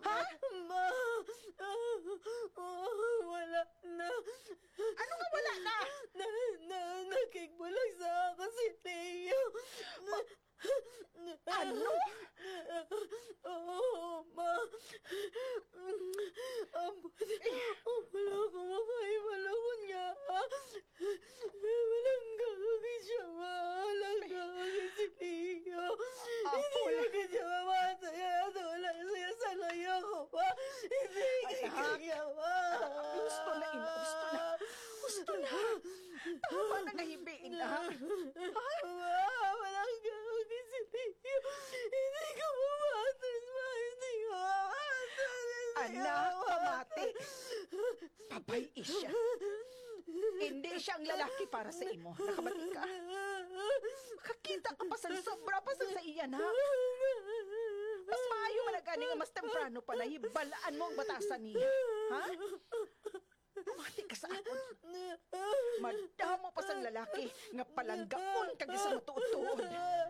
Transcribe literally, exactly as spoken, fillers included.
Ha? Ma! Ah, wala na. Ano nga wala na? Na, na, nakigbulag sa ako si Leo. Ma-, ano? Oo, ma. Ang, wala ko makahibalo ko niya. Walang gagawin siya, ma. Walang gagawin si Leo. Hindi Apol. Gagawin siya, ma. Masaya na wala siya sa layo ko, ma. Hindi Anak. Kaya, ma. Gusto na, ina. Gusto na. Gusto na. Tama na nga hibiin, ha? Ha? Ma, walang gagawin si Leo. Hindi ko mamatras, ma. Hindi ko mamatras. Hindi ko Anak, mamatras. Pamati. Babayi siya. Hindi siya ang lalaki para sa imo. Nakabati ka? Makakita ka pa sang sobra pa sang sa iya na. Mas maayo man na gani nga mas temprano pa na hibalaan mo ang batasan niya. Ha? Pamati ka sa akon. Madamo pa sang lalaki nga palanggaon kag sa matuod-tuod.